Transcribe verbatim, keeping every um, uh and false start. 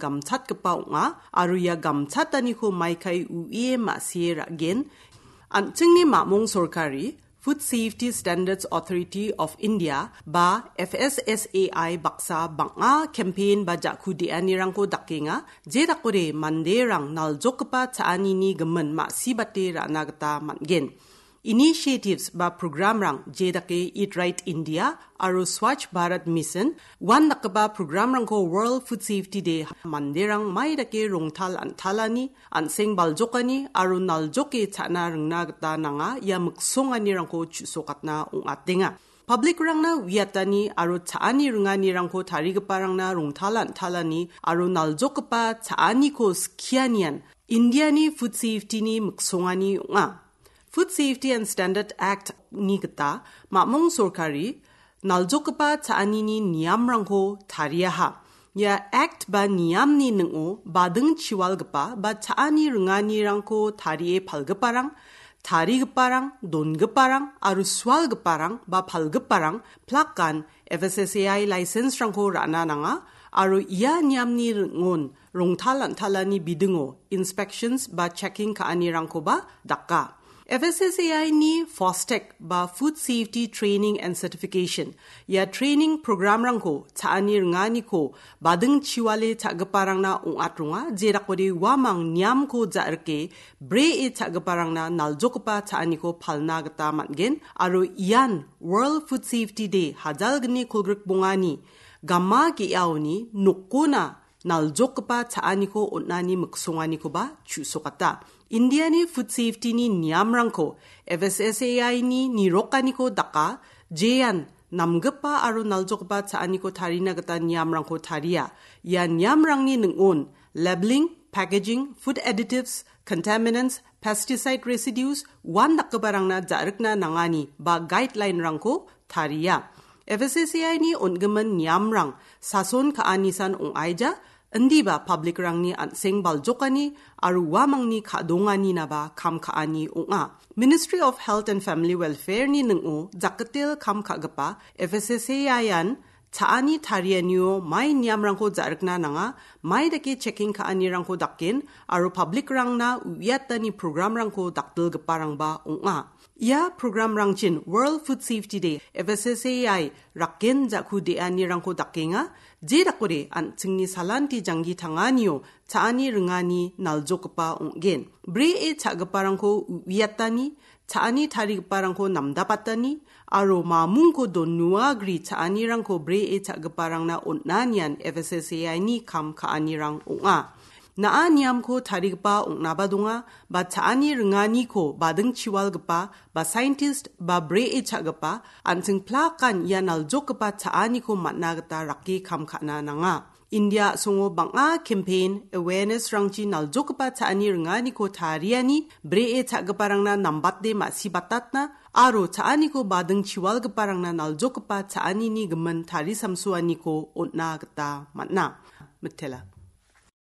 gamchatgipa ong·a aro ia gamchataniko maikai uie ma·sie ra·gen. An·chingni mamung sorkari Food Safety Standards Authority of India ba F S S A I baksa bang·a campaign ba ja·ku de·anirangko dakenga, je dakode manderang naljokgipa cha·anini gimin ma·sibate ra·na gita man·gen. Initiatives ba programrang je dake Eat Right India aro Swachh Bharat Mission uandakgipa programrangko World Food Safety Day manderang mai dake rongtal an·talani, an·seng baljokani aro naljoke cha·na ringna gita nanga ia miksonganirangko chu·sokatna ong·atenga. Public-rangna uiatani aro cha·ani ringanirangko tarigiparangna rongtal an·talani aro naljokgipa cha·aniko skianian Indiani food safety-ni miksongani ong·a. Food Safety and Standard Act-ni gita mamung sorkari naljokgipa cha·anini niamrangko tariaha. Ia Act ba niamni ning·o bading chiwalgipa ba cha·ani ringanirangko tarie palgiparang, tarigiparang, dongiparang aro sualgiparang ba palgiparang plakan F S S A I license-rangko ra·na nanga aro ia niamni ning·on rongtal an·talani bidingo inspections ba checking ka·anirangkoba daka. F S S A I-ni FOSTEC ba Food Safety Training and Certification, ia training programrangko cha·ani ringaniko bading chiwale cha·giparangna ong·atronga, jedakode uamang niamko ja·rike bree cha·giparangna naljokgipa cha·aniko palna gita man·gen aro ian World Food Safety Day hajalgni kolgrikbongani gama ge·aoni nokona naljokgipa cha·aniko on·ani miksonganikoba chu·sokata. Indiani food safety-ni niamrangko F S S A I-ni nirokaniko daka, jean namgipa aro naljokgipa cha·aniko tarina gita niamrangko taria. Ia niamrangni ning·on labeling, packaging, food additives, contaminants, pesticide residues, uandakgiparangna ja·rikna nangani ba guideline-rangko taria. F S S A I-ni on·gimin niamrang sason ka·anisan ong·aija, indiba public-rangni an·seng baljokani aro uamangni ka·donganinaba kam ka·ani ong·a. Ministry of Health and Family Welfare-ni ning·o jakgitel kam ka·gipa F S S A I-an cha·ani tarianio mai niamrangko ja·rikna nanga, mai dake checking ka·anirangko daken aro public-rangna uiatani programrangko dakdilgiparangba ong·a. Ia programrangchin World Food Safety Day, F S S A I raken ja·ku de·anirangko dakenga, jedakode an·chingni salanti janggi tanganio cha·ani ringani naljokgipa ong·gen. Bree cha·giparangko uiatani, cha·ani tarigiparangko namdapatani, aro mamungko donuagri cha·anirangko bree cha·giparangna on·anian F S S A I-ni kam ka·anirang ong·a. Na·a niamko tarigipa ong·naba donga, ba cha·ani ringaniko bading chiwalgipa, ba scientist, ba bree cha·gipa, an·ching plakan ia naljokgipa cha·aniko man·na gita rake kam ka·na nanga. India a·songo bang·a campaign, awareness-rangchi naljokgipa cha·ani ringaniko tariani, bree cha·giparangna nambate ma·sibatatna, aro cha·aniko bading chiwalgiparangna naljokgipa cha·anini gimin tarisamsoaniko on·na gita man·a. Mitela.